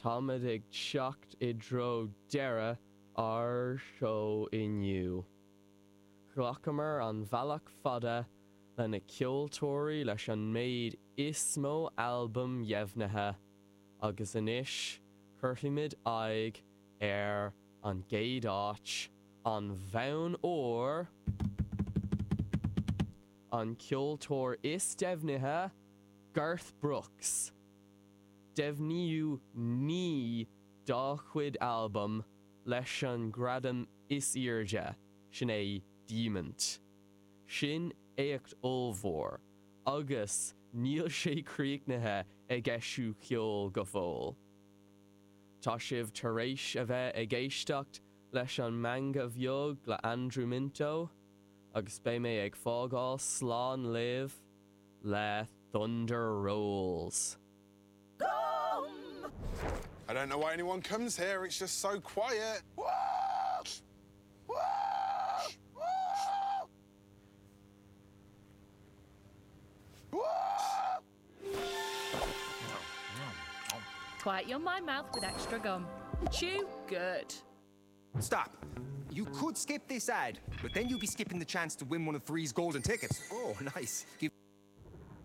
Táimid ag teacht i dtreo deireadh ár seó inniu. Ghlacamar an bealach fada le na ceoltóirí leis an méid is mó albam dheimhnithe agus anois cuirfimid aghaidh ar an gcéad áit, an bonn óir, an ceoltóir is deimhnithe, Garth Brooks. Deimhníodh 9 dá chuid albam leis an ngradam is airde, sin é Diamant. Sin éacht ollmhór agus níl sé críochnaithe ag eisiú ceoil go fóill. Tá sibh tar éis a bheith ag éisteacht leis an Meangadh Bheag le Andrew Minto agus beidh mé ag fágáil slán libh le Thunder Rolls. Gum! I don't know why anyone comes here, it's just so quiet. Quiet your my mouth with extra gum. Chew good. Stop. You could skip this ad, but then you'd be skipping the chance to win one of three's golden tickets. Oh, nice. Give.